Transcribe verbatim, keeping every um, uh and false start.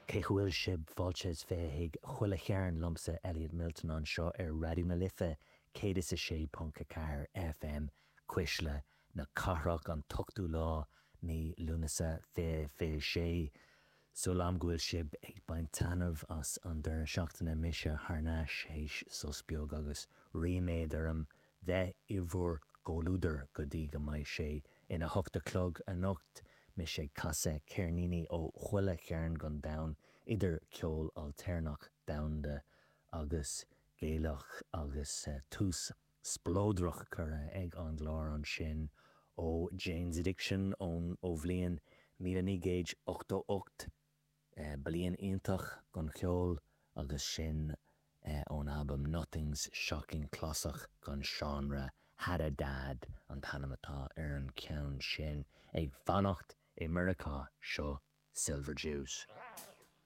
Cén chaoi a bhfuil sibh? Fáilte is fiche chuig Chuile Chearn liomsa Elliot Milton anseo ar Raidió na Life céad is a sé ponc a ceathair FM Cuisle na Cathrach an t-ochtú lá mí Lúnasa fiche fiche sé. Súil agam go bhfuil sibh ag baint taitneamh as an deireadh seachtaine mise thar n-ais théis sos beag agus ríméad orm bheith i bhur gcomhluadar go dtí go mbeidh sé ina hocht a chlog anocht mise ag casadh ceirníní ó chuile chearn den domhan idir ceol ailtéarnach domhanda agus Gaelach agus tús spleodrach curtha ag an gclár ansin ó Jane's Addiction ón ó bhliain míle naoi gcéad ochtó ocht bliain iontach don cheol agus sin ón albam Nothing's Shocking clasach den seánra Hadadad an t-ainm atá ar an ceann sin ag fanacht i Meiriceá seo Silver Jews.